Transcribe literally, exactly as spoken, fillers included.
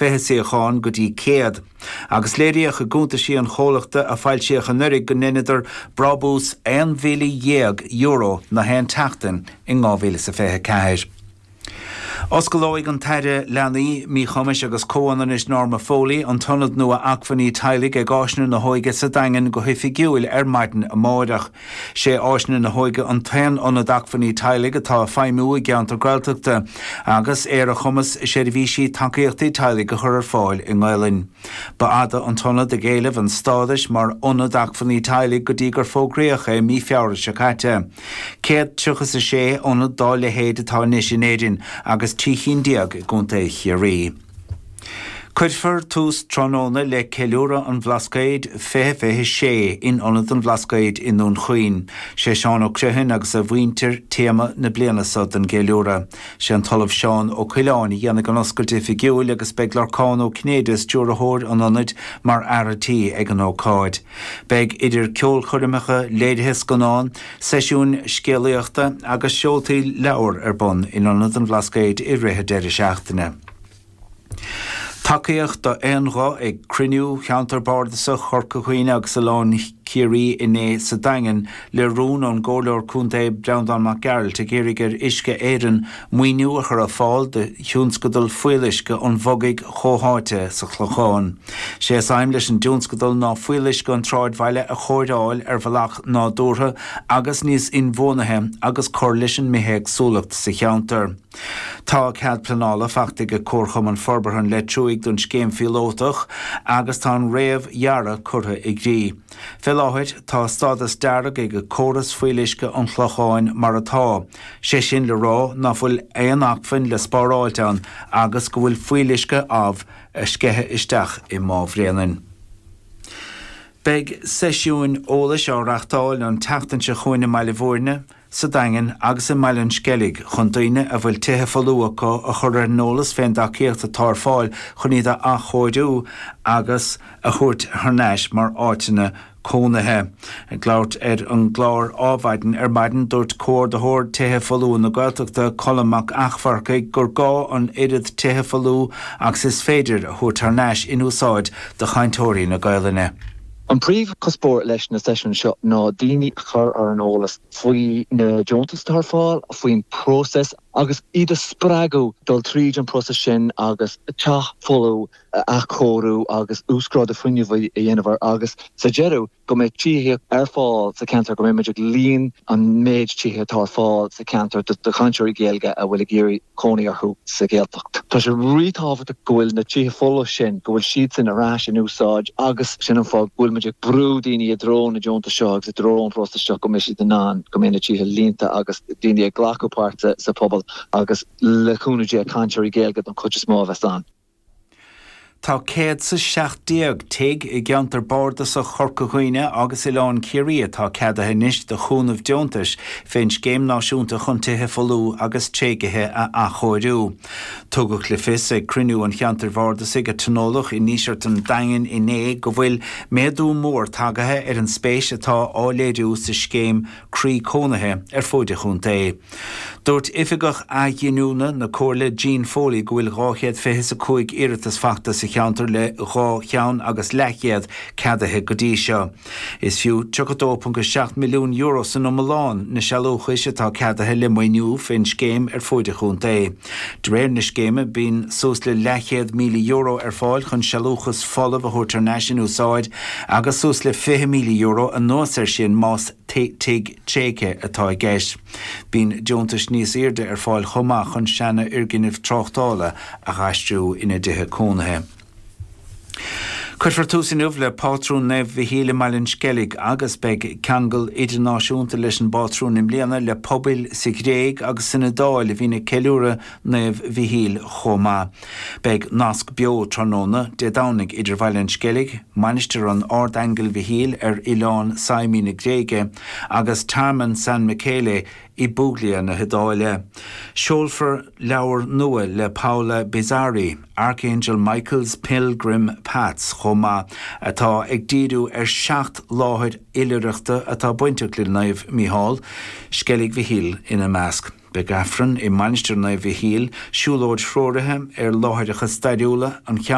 fiche suíochán go dtí céad, agus léiríodh i gcuntaisí an chomhlachta a foilsíodh anuraidh go ndeineadar brabús aon mhíle dhéag euro na haon tseachtain in dhá mhíle is a fiche ceathair. Osclóidh an tAire Leanaí, Míchumais agus Comhionannais Norma Foley an tIonad nua Acmhainní Teaghlaigh ag Áiseanna na hÓige sa Daingean go hoifigiúil ar maidin amárach. Sé Áiseanna na hÓige an t-aon ionad acmhainní teaghlaigh atá ag feidhmiú i gceantar Gaeltachta agus é ar a chumas seirbhísí tacaíochtaí teaghlaigh a chur ar fáil i nGaelainn. Ba fhada an t-ionad ag éileamh an stádais mar ionad acmhainní teaghlaigh go dtí gur fógraíodh é mí Feabhra seo caite. Céad tríocha is a sé ionad dá leithéid atá anois in Éirinn agus trí chinn déag i gContae Chiarraí. Cuirfear tús tráthnóna le Ceiliúradh an Bhlascaoid fiche fiche sé in Ionad an Bhlascaoid i nDún Chaoin. Sé Seán Ó Criomhthain agus a mhuintir téama na bliana seo don gceiliúradh. Sé an tOllamh Seán Ó Coileáin a dhéanfaidh an oscailt oifigiúil agus beidh Lorcán Ó Cinnéide, stiúrthóir an Ionaid, mar fhear an tí ag an ócáid. Beidh idir ceolchoirmeacha, léirithe scannán, seisiúin scéalaíochta agus seoltaí leabhar ar bun in Ionad an Bhlascaoid i rith an deireadh seachtaine. Tacaíocht d'aon ghuth ag cruinniú Cheantar Bardasach Chorca Dhuibhne agus Oileán Ciarraí inné sa Daingean le rún ón gComhairleoir Contae Breandán Mac Gearailt ag iarraidh ar Uisce Éireann maoiniú a chur ar fáil do thionscadal fuíolluisce an Bhogaigh chomhtháite sa Chlochán. Sé is aidhm leis an dtionscadal ná fuíolluisce an tsráidbhaile a chóireáil ar bhealach nádúrtha agus níos inbhuanaithe agus cur leis an mbithéagsúlacht sa cheantar. Tá cead pleanála faighte ag Comharchumann Forbartha an Leitriúigh don scéim phíolótach agus tá an réamhdhearadh curtha i gcrích. Fé láthair, tá stádas dearg ag córas fuíolluisce an Chlocháin mar atá, sé sin le rá ná fuil aon acmhainn le spáráilt ann agus go bhfuil fuíolluisce amh ag sceitheadh isteach i Má Bhréanainn. Beidh seisiúin eolais á reáchtáil an tseachtain seo chugainn i mBaile Bhúirne, sa Daingean agus i mBaile an Sceilg chun daoine a bhfuil tithe folmha acu a chur ar an eolas fén dtacaíocht atá ar fáil chun iad a athchóiriú agus a thabhairt thar n-ais mar áiteanna cónaithe. Ag labhairt ar an gclár Ádhmhaidin ar maidin, dúirt Comhordaitheoir Tithe Folmha na Gaeltachta, Colm Mac Eachmharcaigh, gur gá an oiread tithe folmha agus is féidir a thabhairt thar n-ais in úsáid do chainteoirí na Gaelainne. An príomhchuspóir leis na seisiúin seo ná daoine a chur ar an eolas faoi na deontais atá ar fáil, faoin próiseas agus iad a spreagadh dul tríd an próiseas sin agus teach folamh a athchóiriú agus uasghrádú fuinnimh a dhéanamh air agus sa deireadh go mbeidh tithe ar fáil sa cheantar, go mbeidh muid ag líon an méid tithe atá ar fáil sa cheantar do chainteoirí Gaeilge a bhfuil ag iarraidh cónaí orthu sa Ghaeltacht. Tá sé ríthábhachtach go bhfuil na tithe folamh sin, go bhfuil siadsan ar ais in úsáid agus sin an fáth go bhfuil muid ag brú daoine i dtreo na deontas seo agus i dtreo an phróisis seo go mbeidh siad in ann, go mbeidh na tithe líonta agus daoine ag glacadh páirte sa phobal agus le cúnamh Dé cainteoirí Gaeilge don chuid is mó a bheas ann. Tá céad 's a seacht déag tigh i gceantar bardasach Chorca Dhuibhne agus Oileán Ciarraí atá ceadaithe anois do chúnamh deontais fén Scéim Náisiúnta chun Tithe Folmha agus Tréigthe a Athchóiriú. Tugadh le fios ag cruinniú an cheantair bhardasaigh a tionóladh i nDíseart an Daingin inné go bhfuil méadú mór tagaithe ar an spéis atá á léiriú sa scéim Croí Cónaithe ar fuaid an chontae. Dúirt Oifigeach Athghiniúna na Comhairle Jean Foley go bhfuil dhá chéad fiche is a cúig iarratas fachta sa cheantar le dhá cheann agus leathchéad ceadaithe go dtí seo. Is fiú tríocha dó ponc a seacht milliún euro san iomlán na sealúchais atá ceadaithe le maoiniú fén scéim ar fuaid an chontae. De réir na scéime bíonn suas le leathchéad míle euro ar fáil chun sealúchas folamh a thabhairt thar n-ais in úsáid agus suas le fiche míle euro anuas air sin más tigh tréigthe atá i gceist. Bíonn deontais níos airde ar fáil chomh maith chun seanfhoirgnimh tráchtála a dh'aistriú ina dtithe cónaithe. Cuirfear tús inniu le Pátrún Naomh Mhichíl i mBaile an Sceilg agus beidh ceangal idirnáisiúnta leis an bpátrún i mbliana le pobail sa Ghréig agus san Iodáil a bhíonn ag ceiliúradh Naomh Mhichíl chomh maith. Beidh nasc beo tráthnóna Dé Domhnaigh idir Bhaile an Sceilg, Mainistir an Ardaingil Mhichíl ar oileán Symi na Gréige agus Tearmann San Michele i bPuglia na hIodáile. Seolfar leabhar nua le Paola Bizzarri, Archangel Michael's Pilgrim Paths, chomh maith, atá ag díriú ar sheacht láthair oilithreachta atá bainteach le Naomh Mícheál, Sceilg Mhichíl ina measc. Beidh Aifreann i Mainistir Naomh Mhichíl, siúlóid threoraithe ar láithreacha stairiúla an